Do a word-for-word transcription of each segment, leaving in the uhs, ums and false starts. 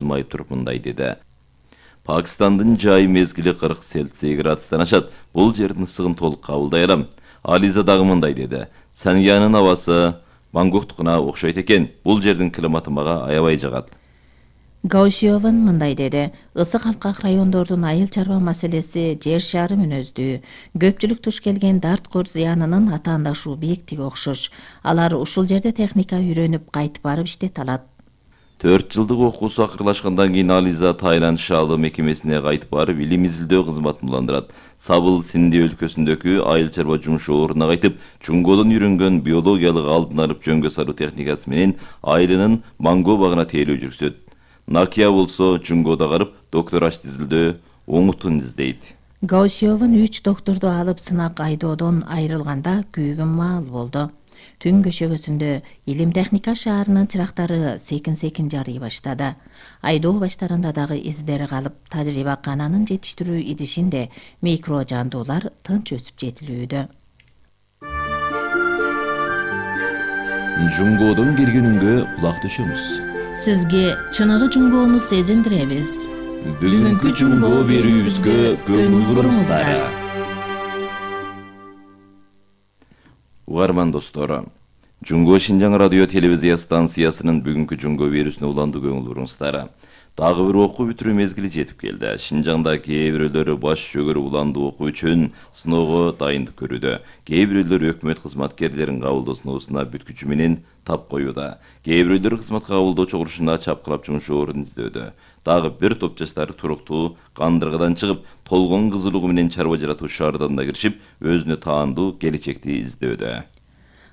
май туруп мындай деди. Пакистандын жай мезгили кырк Цельсий градустан ашат. Бул жердин ысыгын толук кабылдай алам. Ализа дагы мындай деди. Саньянын абасы Бангкоктукуна окшойт экен. Бул жердин климаты мага аябай жагат. Гаусиован мындай деди. Ысык алкак райондордун айыл чарба маселеси жер шары мүнөздүү. Көпчүлүк туш келген дарткор зыянынын атаандашуу бийиктиги окшош. Алар ушул жерде техника үйрөнүп кайтып барып иштете алат. төрт жылдык окуусу акырлашкандан кийин Ализа Таиланд шаалы мекемесине кайтып барып илим изилдөө кызматын уландырат. Сабыл Синди өлкөсүндөгү айыл чарба жумуш ордуна кайтып, Жунгодон үйрөнгөн биологиялык алдын алып жөнгө салуу техникасы менен айылынын манго багына тейлөө жүргүзөт. Накия болсо Жунгода карып доктораж изилдөө оңутун издейт. Гаусиован үч докторду алып сынак айдоодон айрылганда күйгөн маал болду. Түн көшөгөсүндө илим техника шаарынын чырактары секин-секин жарый баштады. Айдоо баштарында дагы издери калып, тажрыйба кананын жетиштирүү идишинде микро жандуулар тынч өсүп жетилүүдө. Жунгодон келгенүнгө кулак төшөмүз. Сизге чыныгы жунгоону сезиндиребиз. Бүгүнкү жунгоо берүүбүзгө көңүл буруңуздар. Угарман достор, Жунго Шинжаң радио телевизия станциясынын бүгүнкү жунго берүүсүнө уланды көңүл буруңуздар. Дагы бир окуу бүтүрүү мезгили жетип келди. Шинжаңда кээ бирөөлөрү баш жөгөрүп уланды окуу үчүн сыноого дайындык көрүүдө. Кээ бирөөлөр өкмөт кызматкерлерин кабылдоо сыноосуна бүткүчү менен тап коюуда. Кээ бирөөлөр кызматка кабылдоо чогулушуна чапкылап жумуш ордун издөөдө. Дагы бир топ жаштар туруктуу кандыргыдан чыгып, толгон кызылыгы менен чарба жаратуу шаарына киришип, өзүнө таандуу келечекти издөөдө.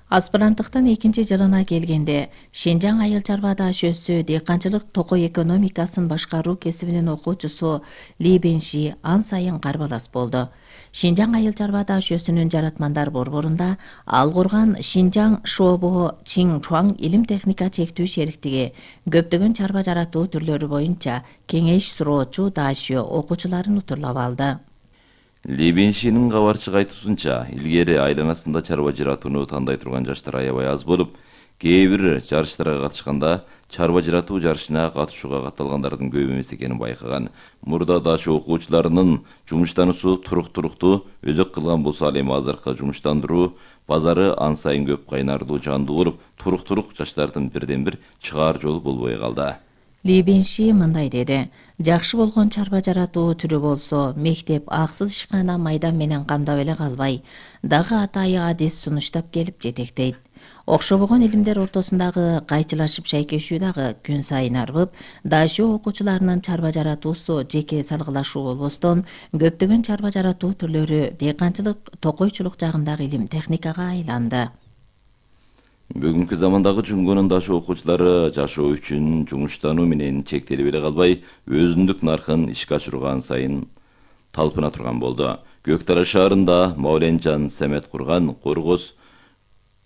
Аспиранттыктын экинчи жылына келгенде Шинжаң айыл чарба даашөсү дыйканчылык токой экономикасын башкаруу кесибинин окуучусу Ли Бенши ан сайын карбалас болду. Шинжаң айыл чарба даашөсүнүн жаратмандар борборунда ал курган Шинжаң Шобо Чин Чуаң илим техника чектүү шериктиги көптөгөн чарба жаратуу түрлөрү боюнча кеңеш суроочу даашө окуучуларын утурлап алды. Ли Беншинин кабарчык айтуусунча, илгери айланасында чарба жаратууну тандай турган жаштар аябай аз болуп, кээ бир жарыштарга катышканда чарба жаратуу жарышына катышууга катталгандардын көп эмес экенин байкаган. Мурда дашы окуучуларынын жумуштануусу турук-туруктуу өзөк кылган болсо, ал эми азыркы жумуштандыруу базары ан сайын көп кайнардуу жандуу болуп, турук-турук жаштардын бирден бир чыгаар жолу болбой калды. Ли Бенши мындай деди. Жакшы болгон чарба жаратуу түрү болсо, мектеп аксыз ишкана майдан менен камдап эле калбай, дагы атайы адис сунуштап келип жетектейт. Окшобогон илимдер ортосундагы кайчылашып шайкешүү дагы күн сайын арбып, даашө окуучуларынын чарба жаратуусу жеке салгылашуу болбостон, көптөгөн чарба жаратуу түрлөрү дыйканчылык, токойчулук жагындагы илим техникага айланды. Бүгүнкү замандагы Жунгонун дашы окуучулары жашоо үчүн жумуштануу менен чектелип эле калбай, өзүндүк наркын ишке ашырган сайын талпына турган болду. Көктара шаарында Мауленжан Семет курган Коргоз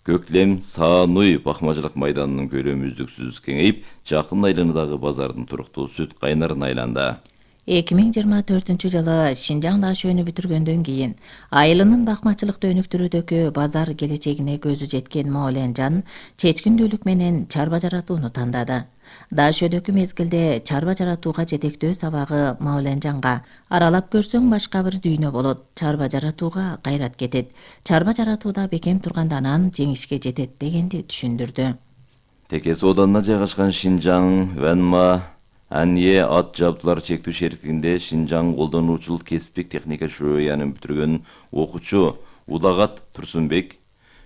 Көклем Саануй бакмачылык майданынын көлөмү үздүксүз кеңейип, жакын айланадагы базардын туруктуу сүт кайнарына айланды. эки миң жыйырма төртүнчү жылы Шинжаң даашөнү бүтүргөндөн кийин айылынын бакмачылыкты өнүктүрүүдөгү базар келечегине көзү жеткен Мауленжан чечкиндүүлүк менен чарба жаратууну тандады. Даашөдөгү мезгилде чарба жаратууга жетектөө сабагы Мауленжанга аралап көрсөң башка бир дүйнө болот, чарба жаратууга кайрат кетет, чарба жаратууда бекем турганда анан жеңишке жетет дегенди түшүндүрдү. Текес оданына жайгашкан Шинжаң Вэнма Анье ат жабдуулар чектүү шериктигинде Шинжаң колдонуучулук кесиптик техника шөөнүн бүтүргөн окуучу Улагат Турсунбек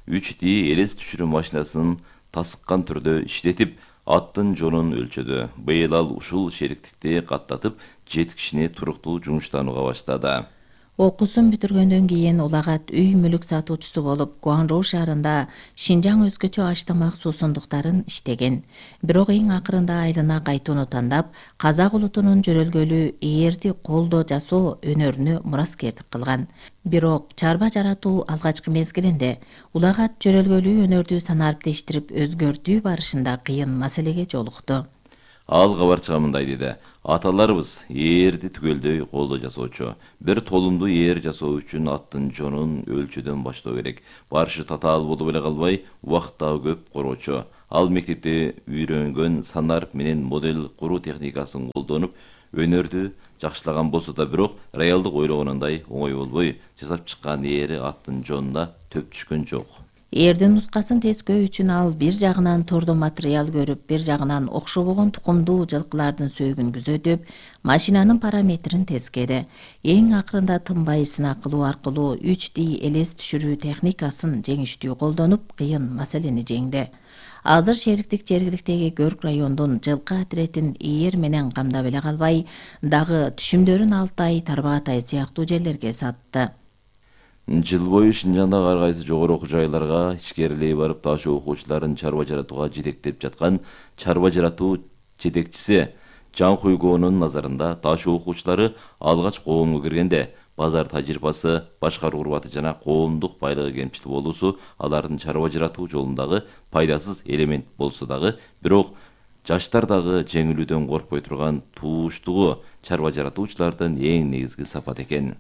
үч ди элес түшүрүү машинасын тасыккан түрдө иштетип, аттын жонун өлчөдү. Быйыл ал ушул шериктикти каттатып, жети кишини туруктуу жумуштанууга баштады. Окуусун бүтүргөндөн кийин Улагат үй мүлүк сатуучусу болуп, Гуанжоу шаарында Шинжаң өзгөчө аштамак суусундуктарын иштеген. Бирок эң акырында айылына кайтууну тандап, казак улутунун жөрөлгөлүү ээрди колдо жасоо өнөрүнө мураскердик кылган. Бирок чарба жаратуу алгачкы мезгилинде Улагат жөрөлгөлүү өнөрдү санариптештирип өзгөртүү барышында кыйын маселеге жолукту. Ал кабарчыга мындай деди. Аталарыбыз ээрди түгөлдөй колдо жасоочу. Бир толумду ээр жасоо үчүн аттын жонун өлчөдөн баштоо керек. Барышы татаал болуп эле калбай, убакыт дагы көп короочу. Ал мектепте үйрөнгөн санар менен модель куруу техникасын колдонуп, өнөрдү жакшылаган болсо да, бирок реалдык ойлогонундай оңой болбой, жасап чыккан эри аттын жонуна төп түшкөн жок. Эрдин нускасын тескөө үчүн ал бир жагынан тордо материал көрүп, бир жагынан окшобогон тукумдуу жылкылардын сөөгүн күзөтүп, машинанын параметрин тескеди. Эң акырында тынбай сынак кылуу аркылуу үч ди элес түшүрүү техникасын жеңиштүү колдонуп, кыйын маселени жеңди. Азыр шериктик жергиликтеги Көрк райондун жылкы отретин ээр менен камдап эле калбай, дагы түшүмдөрүн Алтай, Тарбагатай сыяктуу жерлерге сатты. Жыл бою Шинжаңдагы ар кайсы жогору окуу жайларга ичкерилей барып, ташуу окуучуларын чарба жаратууга жетектеп жаткан чарба жаратуу жетекчиси Жан Хуйгоонун назарында ташуу окуучулары алгач коомго киргенде базар тажрыйбасы, башкаруу курбаты жана коомдук байлыгы кемчил болуусу алардын чарба жаратуу жолундагы пайдасыз элемент болсо дагы, бирок жаштар дагы жеңилүүдөн коркпой турган тууштугу чарба жаратуучулардын эң негизги сапат экен.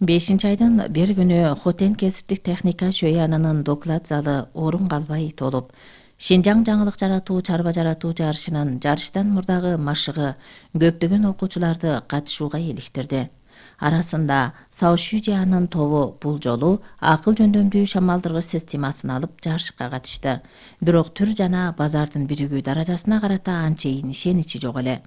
бешинчи айдын бир күнү Хотен кесиптик техника шөянынын доклад залы орун калбай толуп, Шинжаң жаңылык жаратуу чарба жаратуу жарышынын жарыштан мурдагы машыгы көптөгөн окуучуларды катышууга иликтирди. Арасында Саушюжиянын тобу бул жолу акыл жөндөмдүү шамалдыргыч системасын алып жарышка катышты. Бирок түр жана базардын биригүү даражасына карата анчейин ишеничи жок эле.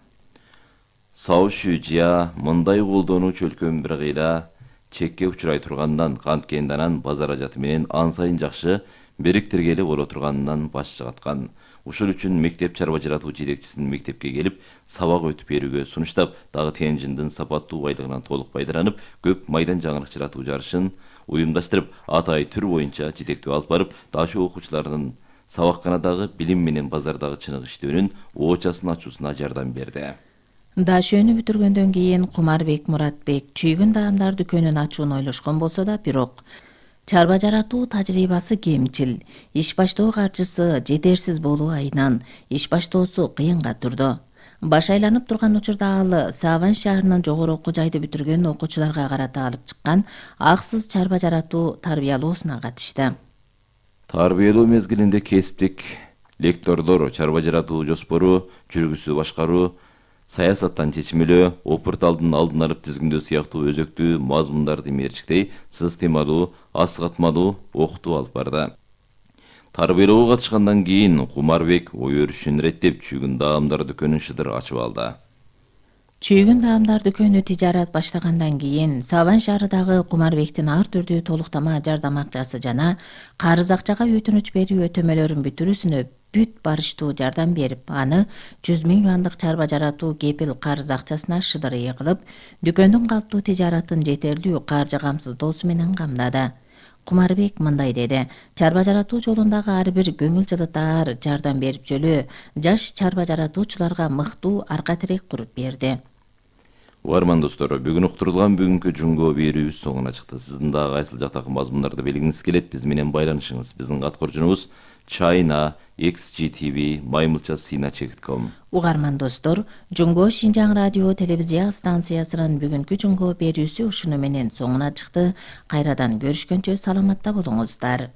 Саушюжия мындай колдонуу чөлкөн бир кыйла чекке учурай тургандан, канткенде анан базар ажаты менен ан сайын жакшы бириктиргели боло турганынан баш чыгаткан. Ушул үчүн мектеп чарба жаратуу жетекчисинин мектепке келип, сабак өтүп берүүгө сунуштап, дагы Тенжиндин сапаттуу байлыгынан толук пайдаланып, көп майдан жаңылык жаратуу жарышын уюмдаштырып, атайы түр боюнча жетектөө алып барып, ташуу окуучуларынын сабакканадагы билим менен базардагы чыныгы иштөөнүн оочасын ачуусуна жардам берди. Дашөөнү бүтүргөндөн кийин Кумарбек Муратбек чүйгүн даамдар дүкөнүн ачууну ойлошкон болсо да, бирок чарба жаратуу тажрыйбасы кемчил, иш баштоо каржысы жетерсиз болуу айынан иш баштоосу кыйынга турду. Баш айланып турган учурда ал Саван шаарынын жогору окуу жайды бүтүргөн окуучуларга карата алып чыккан аксыз чарба жаратуу тарбиялоосуна катышты. Тарбиялоо мезгилинде кесиптик лектордор чарба жаратуу жоспору, жүргүсү башкаруу, саясаттан чечмелөө, опурталдын алдын алып тизгиндөө сыяктуу өзөктүү мазмундарды мерчиктей, системалуу, асыгатмалуу окутуу алып барды. Тарбиялоого катышкандан кийин Кумарбек ой өрүшүн иреттеп, чүйгүн даамдар дүкөнүн шыдыр ачып алды. Чүйгүн даамдар дүкөнү тижарат баштагандан кийин Саван шаарындагы Кумарбектин ар түрдүү толуктама жардам акчасы жана карыз акчага өтүнүч берүү өтөмөлөрүн бүтүрүүсүнө бүт барыштуу жардам берип, аны жүз миң юандык чарба жаратуу кепил карыз акчасына шыдыр ээ кылып, дүкөндүн калптуу тижаратын жетерлүү каржы камсыздоосу менен камдады. Кумарбек мындай деди: чарба жаратуу жолундагы ар бир көңүл жылытаар жардам берип жөлөө жаш чарба жаратуучуларга мыктуу арка тирек куруп берди. Угарман достор, бүгүн уктурулган бүгүнкү жунго берүүбүз соңуна чыкты. Сиздин дагы кайсыл жактагы мазмундарды билгиңиз келет, биз менен байланышыңыз. Биздин каткоржунубуз China X G T V маймылча сина чек ком. Угарман достор, Жунго Шинжаң радио телевизия станциясынын бүгүнкү жунго берүүсү ушуну менен соңуна чыкты. Кайрадан көрүшкөнчө саламатта болуңуздар.